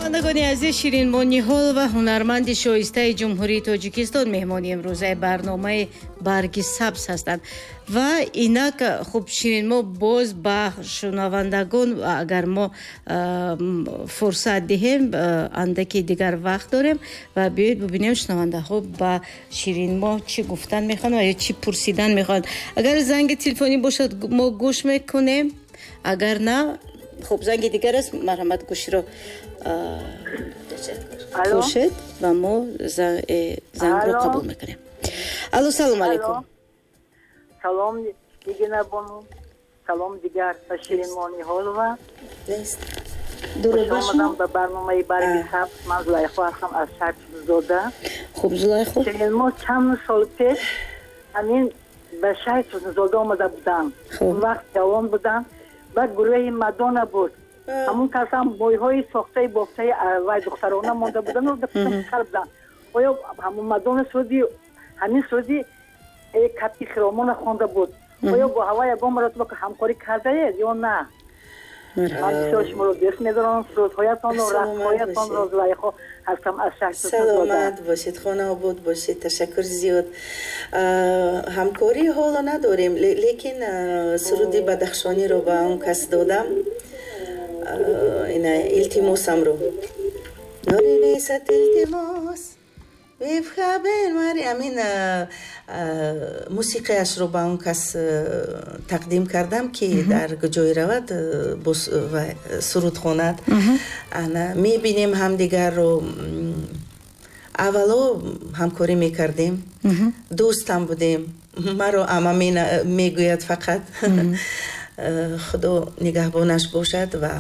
Шунавандагони азиз, Ширинмо Ниҳолова, ҳунарманди шоистаи Ҷумҳурии Тоҷикистон, меҳмони имрӯзаи барномаи «Барги сабз» ҳастанд. Ва инак, хуб, Ширинмо, боз ба шунавандагон агар мо фурсат диҳем, андаки дигар вақт дорем ва биёед бубинем, шунавандаҳо ба Ширинмо чӣ гуфтан мехоҳанд ва ё чӣ пурсидан мехоҳанд. Агар занги телефонӣ бошад, мо гӯш мекунем, агар на, хуб, занги дигар аст. Марҳамат, гӯширо пӯшед ва мо зангро қабул мекунем. Алло, салом алейкум. Салом, Нигина бону, салом дигар ба Ширинмо Ниҳолова. Дуруд ба шумо. Ба барномаи «Барги сабз». Ман Зулайхо ҳастам аз шаҳри Турсунзода. Хуб, Зулайхо. Ширинмо чанд сол пеш ҳамин ба шаҳри Турсунзода омада будам. Он вақт ҷавон будам. Баъд гурӯҳи Мадона буд. Ҳамун касам мӯйҳои сохтаи бофтаи вай духтарона монда будану писар буданд. Оё ҳамун Мадона суруди, ҳамин суруди «Кабки хиромона» хонда буд. Оё бо ҳава ягон маротиба ҳамкорӣ кардаед ё на? Ман бисёр шуморо дӯст медорам, сурудҳоятонро, рақсҳоятонро. Зулайхо ҳастам аз шаҳри. Саломат бошед, хонаобод бошед, ташаккур зиёд. Ҳамкорӣ ҳоло надорем, лекин суруди бадахшониро ба он кас додам, ина илтимосамро, норинесат илтимос, ҳамин мусиқиашро ба он кас тақдим кардам, ки дар ҷое равад, суруд хонад. Ана мебинем ҳамдигарро. Аввало ҳамкорӣ мекардем, дӯстам будем. Маро ама мегӯяд фақат. Худо нигаҳбонаш бошад ва